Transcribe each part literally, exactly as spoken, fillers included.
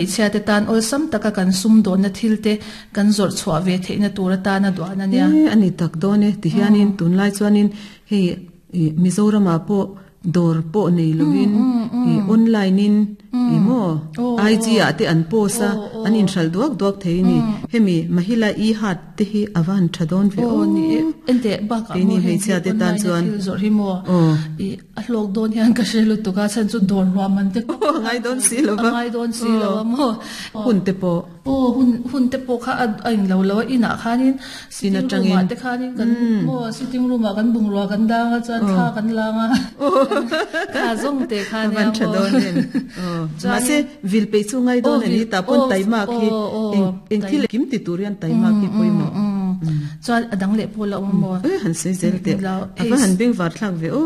Hmeichhia te tan awlsam taka kan sumdawnna thil te kan zawrh chhuah ve theihna tur atana duan a nia. E ani tak dawn e tihianin tunlai chuanin hei Mizoramah pawh dawr pawh nei lovin ih online in ih maw I G ah te an post a an inhral duak duak thei a ni. Hemi Mahila e-Haat te hi a va han tha dawn ve aw. Ni e ente bakah Keini maw hei hmeichhia te tan online a chuan thil zawrh hi maw aw ih a hlawk dawn hian ka hre lutuk a chhan chu dawr ruah man te a ngai dawn si lo a va ngai dawn si lo a maw hun te pawh aw hun hun te pawh kha a in lo lo a inah khanin in sitting room atangin ah te khanin kan maw sitting room ah kan bungrua kan dang a chuan thla kan lang a kha zawng te kha a nia van tha maw dawn em aw mahse chuanin vil peih chu ngai aw dawn ani vil tah pawn aw taimak hi aw aw eng eng tai thil kim ti tur hian taimak hi pawimawh chuan a dang leh pawh la awm maw e han sei zel teh lo a va han beng var thlak ve aw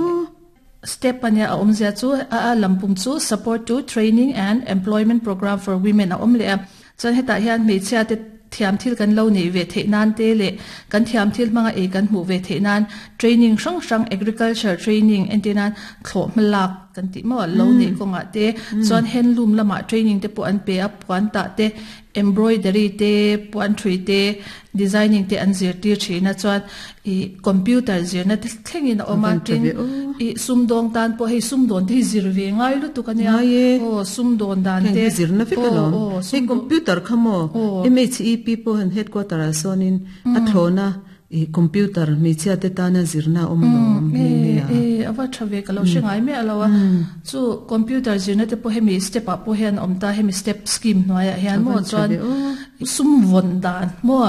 step ania a awmzia chu a a lampum chu support to training and employment program for women a awm leh a chuan hetah hian hmeichhia te thiam thil kan lo nei ve theih nan te leh kan thiam thil hmanga ei kan hmuh ve theih nan training hrang hrang agriculture training entir nan thlawh hmalak kan tih maw lo neih kawngah te chuan handloom lamah training te pawh an pe a puan tah te embroidery te puan thui te designing te an zirtir thin a chuan ih computer zirna te thlengin a awm a van tha tin ve aw ih sumdawng tan pawh hei sumdawn te hi zir ve ngai lutuk ania ngai e aw sumdawn dan heng te hi zirna vek aw alawm aw hei sumdawn computer kha maw aw M H E P pawh han headquarter ah sawnin a thlawna ih computer hmeichhia te tana zirna a awm alawm e nghe nghe a e ava tha ve ka lo hre ngai mai alo a chu computer zirna te pawh hemi step ah pawh hian a awm ta hemi step scheme hnuaiah hian a maw van tha chuan ve aw sum vawn dan maw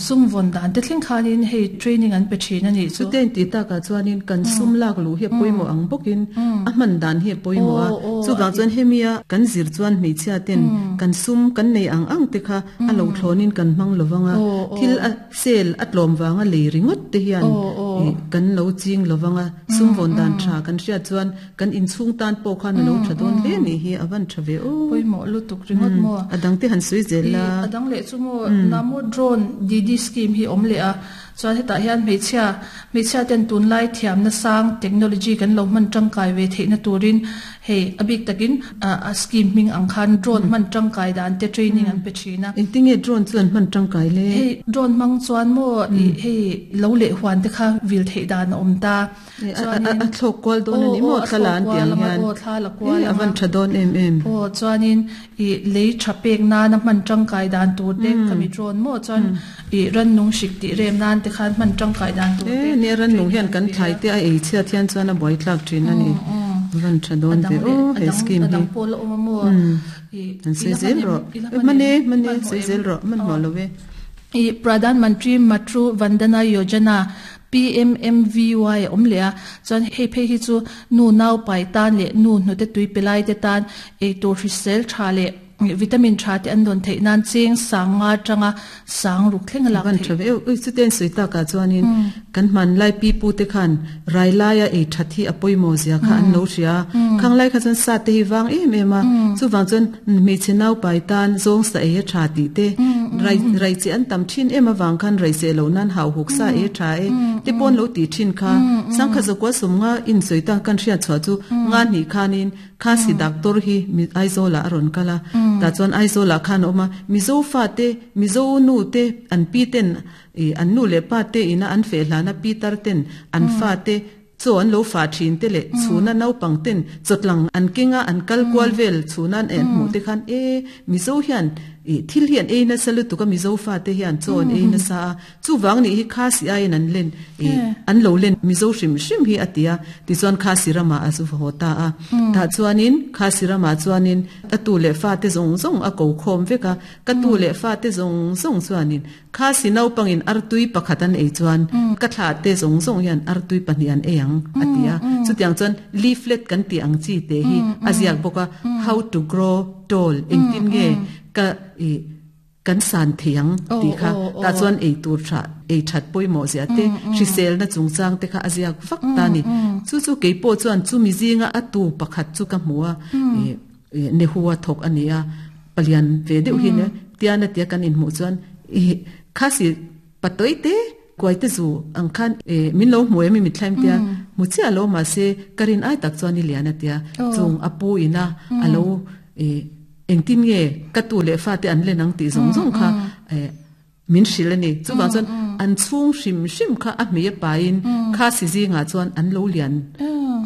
sum vawn dan te thleng khanin hei training an pe thin ani chu chuten ti takah chuanin kan sum lak luh hi a pawimawh ang bawkin a hman dan hi a pawimawh a aw aw chuvang chuan hemia kan zir chuan hmeichhia ten kan sum kan nei ang ang te kha a lo thlawnin kan hmang lovanga aw aw thil a sel a tlawm wanga lei ringawt te hian aw aw ih kan lo ching lovanga sum vawn dan tha kan hriat chuan kan inchhung tan pawh khan a lo tha dawn hle ni hi a van tha ve aw pawimawh lutuk ringawt maw a dang te han sui zel la i adang leh chu maw namo drone D D scheme hi awm leh a chuan hetah hian hmeichhia hmeichhia ten tunlai thiamna sang technology kan lo hman tangkai ve theihna turin hei a bik takin a a scheme hming ang khan drone hman tangkai dan te training an pe thin a engtinge drone chuan hman tangkai le hei drone hmang chuan maw i hei lo leh huan te kha vil theih dan a awm ta a a a thlawk kual dawn ani aw maw aw a thla thlawk an kual tiang anga hian aw thla la e kual a anga van tha dawn em em aw chuanin i lei tha pek nana hman tangkai dan tur te khami drone maw chuan i rannung hrik tih rem nan te khan hman tangkai dan tur e te ne ran nung training hian an kan pe thlai a te a ei chhiat hian chuan a buai tlak thin ani van tha dawn ve adang leh aw he adang scheme hi adang pawh la awm a maw i an sei ila zel hman em ro ila e hman mane em mane hman hmawh sei em zel ro man hmawh lo ve i Pradhan Mantri Matru Vandana Yojana P M M V Y awm leh a chuan hei phei hi chu nu nau pai tan leh nu hnute tui pelai te tan eitur hrisel tha leh vitamin tha te an dawn theih nan cheng sang nga tanga sang ruk thleng a lak van theih tha ve ui chu ten sui taka chuanin kan man lai pi pu te khan rai laia ei thathi a pawimawh zia kha an lo hria khang lai kha chuan sa te hi wang em em a chu wang chuan mi chenau pai tan zawng sa ei a tha ti te rai rai chi an tam thin em awang khan rai se lo nan hau huk sa e tha e te pon lo ti thin kha sangkha zakwa sumnga in sui ta kan hria chwa chu nga ni khanin kha si doctor hi mi Aizola aron kala ta chuan Aizola khan oma mizo fa te mizo nu te an pi ten e an nu le pa te ina an fe hlana pi tar ten an fa te chu an lo fa thin te le chuna nau pang ten chotlang an kinga an kal kwal vel chunan en mu te khan e mizo hian e thil hian e na salu tu ka mizo fa te hian chon e na sa chu wang ni hi kha si ai an len e an lo len mizo hrim hrim hi atia ti chuan kha si rama azu ho ta a ta chuanin kha si rama chuanin atu le fa te zong zong a ko khom veka ka tu le fa te zong zong chuanin kha si nau pangin artui pakhatan ei chuan ka thla te zong zong hian artui pahnian eyang atia chu tiang chuan leaflet kan ti ang chi te hi aziak boka how to grow tall engtin nge ka e kan san thiang ti kha ta chuan ei tur tha ei that pawimawh zia te hrisel na chungchang te kha aziak vak ta ni chu chu keipo chuan chu mi zinga atu pakhat chu ka hmua e ne huwa thok ania palian ve deuh hi ne tiana tia kan in hmu chuan e khasi patoi te kwai te zu ang khan e min lo hmu em mi thlaim tia mu chi alo ma se karin ai tak chuan i lian atia chung apu ina alo e Engtin nge ka tu le fa te an le nang ti zong zong kha min hril ani chu wang chuan an chung hrim hrim kha a hmei pa in kha si zi nga chuan an lo lian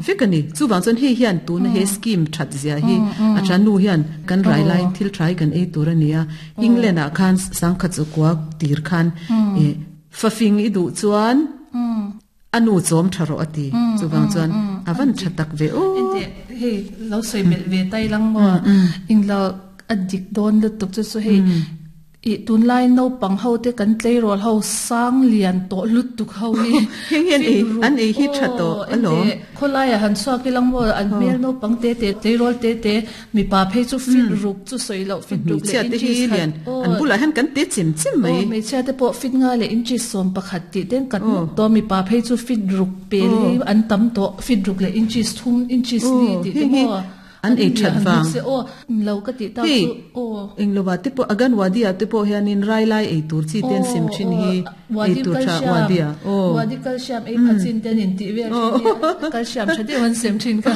vekani chu wang chuan hei hian tu na he scheme that zia hi a chan nu hian kan rai lai thil thai kan ei tur ania England a khan sangkhat chu kwa tir khan e fafing i du chuan anu chom tharo ati chu wang chuan avan thatak ve o ente hei lo soi bel ve tai lang mo ing lo adik don lu tuk chu chu hei i tun lai no pang ho te kan tlei rol ho sang lian to lut tuk ho hi heng hian ei an ei hi thato alo kholai a han suak ilang mo an mel no pang te te tlei rol te te mi pa phei chu fit ruk chu soi lo fit ruk le inches lian an bula han kan te chim chim mai me cha te po fit nga le inches som pakhat ti ten kat to mi pa phei chu fit ruk pe li an tam to fit ruk le inches thum inches ni ti te mo an ei that wang o lo ka ti ta chu o eng lo wa te po agan wadia te po hian in rai lai ei tur chi ten sim thin hi ei tur tha wadia o wadi calcium ei phachin ten in ti ve calcium tha de wan sim thin ka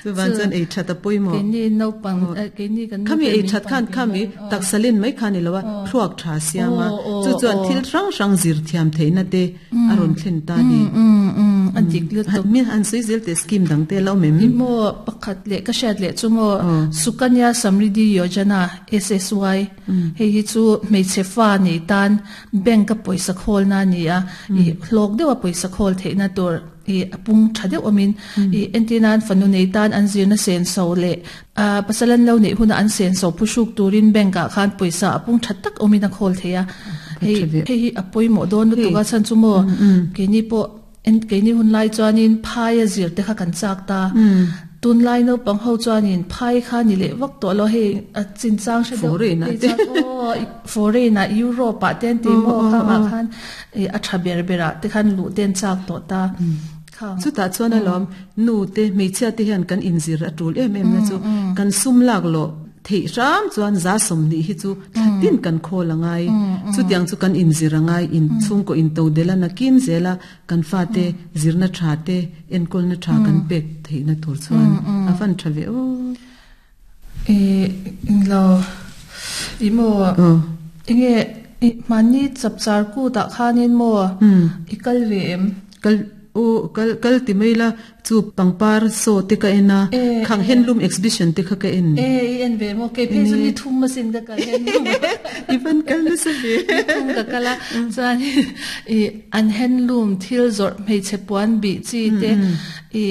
chu wan chan ei that a poi mo ke ni no pang ke ni kan khami ei that khan khami taksalin mai khan ni lowa thruak tha siama chu chuan thil rang rang zir thiam theina te aron thlen ta ni an dik lu to mi an sui zel te scheme dang te lo mem mo pakhat le ka shat le chumo Sukanya Samriddhi Yojana S S Y hei hi chu hmeichhe fa nei tan bank a poisa khol na ni a i hlok dewa poisa khol theina tur i apung thade omin i entinan fanu nei tan an zirna sen so le a pasalan lo nei huna an sen so phusuk turin bank a khan poisa apung thattak omin a khol theya hei hei hi apoi mo don lu tuga chan chumo ke ni po en ke ni hun lai chuanin phai a zir te kha kan chak ta tun lai no pang ho chuanin phai kha ni le wak to lo hei a chin chang she foreign do o foreign a Europe a ten ti mo kha ma khan a tha ber bera te khan lu ten chak to ta chu ta chuan alom nu te hmeichhia te hian kan inzir a tul em em na chu kan sum lak lo thei ram chuan za som ni hi chu tin kan khol angai chu tiang chu kan inzir angai in chung ko in to dela na kin zela kan fa te zirna tha te enkol na tha kan pek theina tur chuan afan thave o e lo imo inge mani chapchar ku da khanin mo ikal ve em kal o kal kal ti meila chu pangpar so te ka ena khang handloom exhibition te kha ka en e en ve mo ke phe chu ni thum ma sin ka kal handloom even kal na se ve thum ka kala chuan e an handloom thil zor mei che puan bi chi te e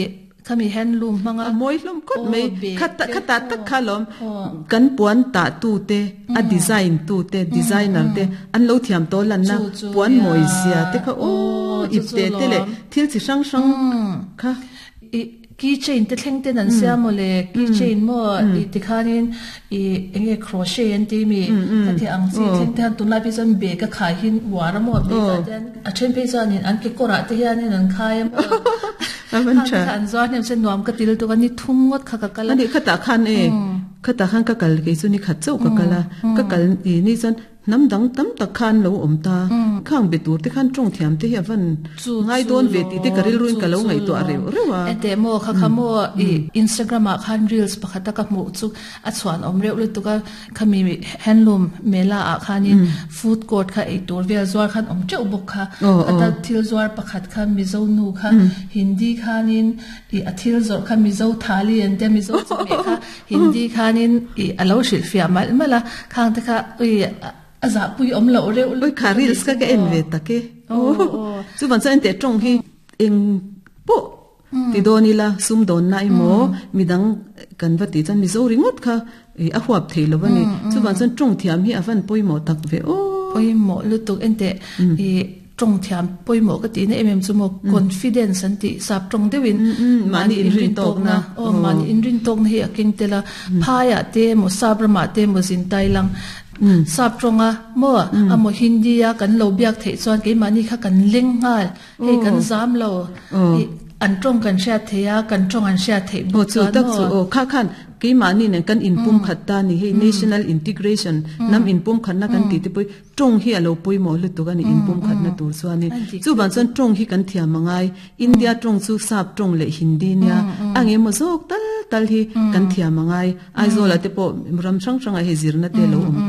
khami handloom manga moi hlom kot mei khata khata tak khalom kan puan ta tu te a design tu te designer te an lo thiam to lan na puan moi sia te kha o ipte te le thil chi sang sang kha keychain te thleng ten an sia mo le keychain mo i ti khanin i enge crochet an ti mi ka ti ang chi thleng ten tun lai pi chan be ka khai hin war mo be ka ten a then pe chan in an ke kora te hian in an khai mo avan cha an zo nem sen nuam ka til tu ka ni thum ngot kha ka kala ani khata khan e khata khan ka kal ke chu ni khat chau ka kala ka kal i ni chan nam dang tam tak khan lo om ta khang be tur te khan tong thiam te hi avan ngai don ve ti te karil ruin ka lo ngai to are rewa ete mo kha kha mo i Instagram a khan reels pakhata ka mu chu a chuan om reu lu tu ka khami handloom mela a khanin food court kha ei tur vel zwar khan om cheu bok kha ata thil zwar pakhat kha mizo nu kha Hindi khanin i athil zor kha mizo thali an te mizo chu me kha Hindi khanin i alo shil fia mal mala khang te kha ui aza pui om lo reu oi kha reels ka ka en ve take o chu van chan te tong hi eng po ti donila sum don nai mo midang kan va ti chan mi zo ringot kha a huap thei lo wani chu van chan tong thiam hi avan poi mo tak ve o poi mo lu tuk en te i tong thiam poi mo ka ti na em em chu mo confidence an ti sap tong dewin mani in rin tok na o mani in rin tok na hi aking tela phaya te mo sabrama te mo zin tailang sap tonga mo amo Hindi a kan lo biak thei chuan ke mani kha kan leng ngal hei kan zam lo an tong kan sha theya kan tong an sha thei bo chu tak chu o kha khan Keimahni nen kan inpum khat ta ni hei national integration nam inpum khat na kan ti te pui tong hi alo pawimawh lutuk ani inpum khat na tur chuanin chu ban chuan tong hi kan thiam angai India tong chu sap tong leh Hindi nia ange mo zawk tal tal hi kan thiam angai Aizawl te pawh ram hrang hrang a hei zirna te lo awm ta.